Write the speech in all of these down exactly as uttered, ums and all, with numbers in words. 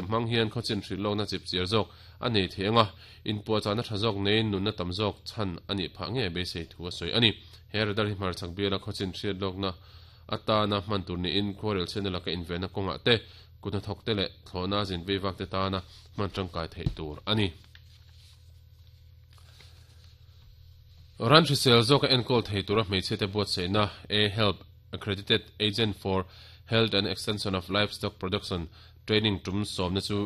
Mang hian khawchin hrilh na chip chiar zawk ani theinga in puwa chana tha zawk nei nun na tam zawk chan ani pha nge be sei thu a soi ani he radar hi hmar chak biala khawchin hriat lok na atana hman tur ni in khorel chenela ka invena konga te kuna thok te le thlona zin veiwak te tana hman tangkai thei tur ani ran hrisel zawk a enkawl thei tura hmeichhe te buat seina a help accredited agent for health and extension of livestock production training tum som na chu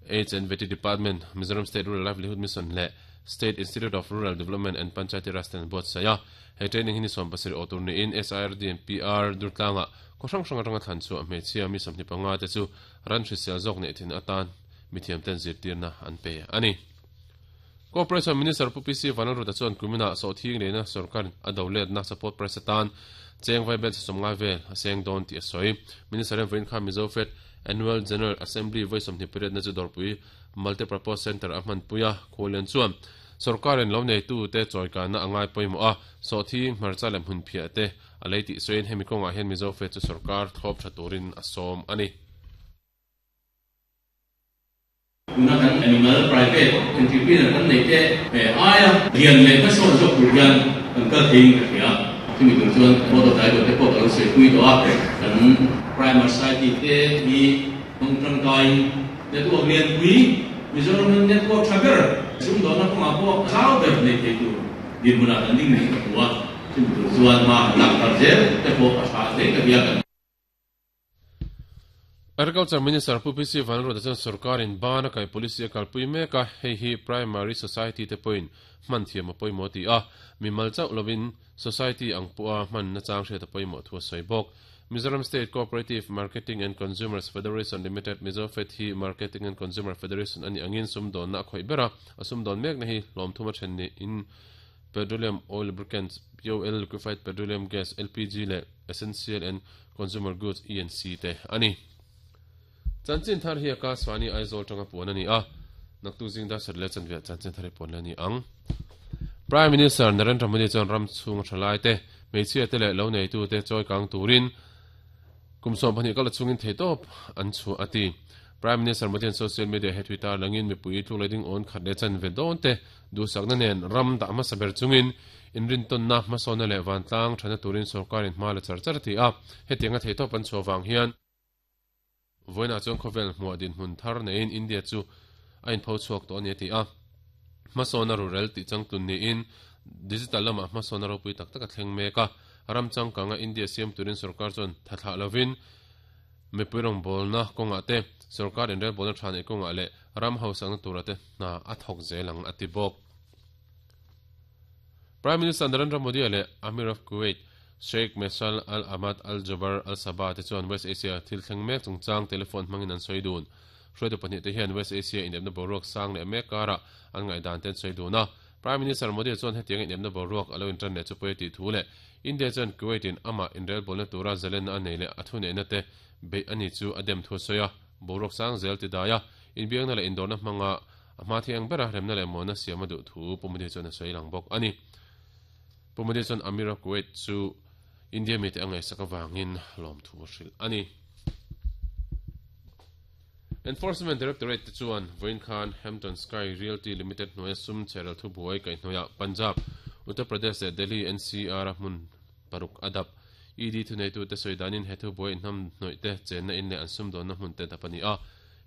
H and V T Department Mizoram State Rural Livelihood Mission le State Institute of Rural Development and Panchayati Raj ten buat saya he training hi ni som pasarih awtur ni in S I R D and P R durtlanga ko hrang hrang atanga thlan chu hmeichhia mi sawmhnih panga te chu ran hrisel zawk nei thin atan mithiam ten zirtirna an pe ani Corporation Minister Pu P C Vanlalruta chuan kumina sawhthing leina sarkar a do let na support price atan cheng vai bel sawmngai vel a seng dawn tih a sawi Minister em vawiin kha Mizo Fed Annual General Assembly voi sawmhnih period na chu dawrpui Multipurpose Center a hman puia khawlian chuan sarkarin lo nei tu te chawikana angai pawimawh a sawhthing hmarcha lem hun phiah te a lei tih sawiin hemi kawngah hian Mizo Fed chu sarkar thlawp tha turin a sawm ani Tuna kan animal private entrepreneur kan nei te aia lian leh hmasawn zawk tur hian kan kal theiin ka hria chumi tur chuan board of director te pawh ka lo sawi pui tawh a kan primary society te hi hmang tangkaiin network lian pui Mizoram network tha ber sum dawhna kawngah pawh zau ber nei thei tur dinhmunah kan ding ni ka hmu a chumi tur chuan ma lak thar zel te pawh a tha hle ka hria kan Agriculture Minister Pu P C Vanlalruta chuan sarkarin bana kai policy a kalpui mek a hei hi primary society te pawhin hman thiam a pawimawh ti a mimal chauh lovin society ang pawha hman na chang hriat a pawimawh thu a sawi bawk Mizoram State Cooperative Marketing and Consumers Federation Limited Mizo Fed hi Marketing and Consumer Federation ani angin sumdawn na a khawih ber a a sumdawn mek na hi hlawm thum a then ni in petroleum oil lubricants P O L liquefied petroleum gas L P G le essential and consumer goods E and C te ani Chanchin thar hi ka swani Aizawl tanga puan ani a naktu jingda sarle chanve chanchin thar puan ani ang Prime Minister Narendra Modi chuan ram chung thalai te hmeichhia te leh lo nei tu te chawi kang turin kumsawm pahnih kala chungin thei tawp an chu ati Prime Minister Modi an social media he Twitter langin mipui thu leiding on khat le chanve dawn te duhsakna nen ram dah hmasa ber chungin inrin tawnna hmasawna leh vantlang thana turin sarkarin hma la char char ti a hetianga thei tawp an chhuah vang hian voina chuan khawvel hmuah din hmun thar neiin India chu a inpho chhuak tawh ani a ti a hmasawna rural tih changtlun niin digital lamah hmasawna ropui tak tak a thleng mek a ram changkanga India siam turin sarkar chuan thathlah lovin mipui rawng bawlna kawngah te sarkar inrel bawlna tha nei kawngah leh ram hausakna tura te hna a thawk zelang a ti bawk Prime Minister Narendra Modi leh Amir of Kuwait Sheikh Meshal Al Ahmad Al Jaber Al Sabah te chuan West Asia thil thleng mek chungchang telephone hmangin an sawi dun hruaitu pahnih te hian West Asia inepna boruak sang leh mek karah an ngaihdan ten sawi dun a Prime Minister Modi chuan hetiang inepna boruak alo intan leh chu pawi tih thu leh India chuan Kuwait in ama inrel bawlna tura zalen a nei leh a thu neihna te beih ani chu a dem thu sawi a boruak sang zel ti dai a inbiakna leh indawrna hmanga a hma thiang bera remna leh muana siam a duh thu Pu Modi chuan a sawi lang bawk ani Pu Modi chuan Amir of Kuwait chu India mi te angai sak awangin lawm thu hrilh ani Enforcement Directorate te chuan Vawiin Khan Hampton Sky Realty Limited hnuaia sum cheral thu buai kai hnuaia Punjab Uttar Pradesh leh Delhi N C R a hmun paruk adap E D thu nei tu te sawi danin he thu buai inhnam hnawih te chenna in leh an sum dawnna hmun te dap ani a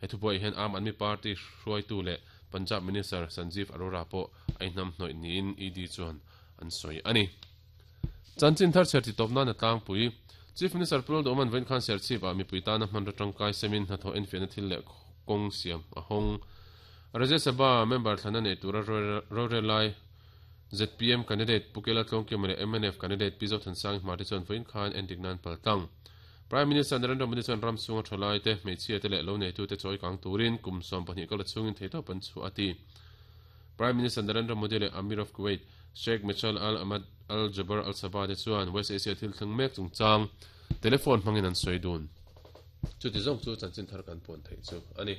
he thu buai hian Aam Aadmi Party hruaitu leh Punjab Minister Sanjeev Arora pawh a inhnam hnawih niin E D chuan an sawi ani Chanchin thar cher ti tawpna na tlangpui Chief Minister Pu Lalduhawma'n Vawiin Khan Serchhip ah mipui tana hman ra tangkai semin hnathawh enfiahna thil leh kawng siam a hawng Rajya Sabha member thlana nei tura rorel lai Z P M candidate Pukela Tlawngkima leh M N F candidate Pi Zothansang hma te chuan Vawiin Khan endik nan paltlang Prime Minister Narendra Modi chuan ram chunga thalai te hmeichhia te leh lo nei tu te chawi kang turin kum sawm pahnih kala chungin thei tawp an chu ati Prime Minister Narendra Modi leh Amir of Kuwait Sheikh Meshal Al Ahmad Al Jaber Al Sabah te chuan West Asia thil thleng mek chungchang telephone hmangin an sawi dun chu ti zawng chu chanchin thar kan puan thei chu ani.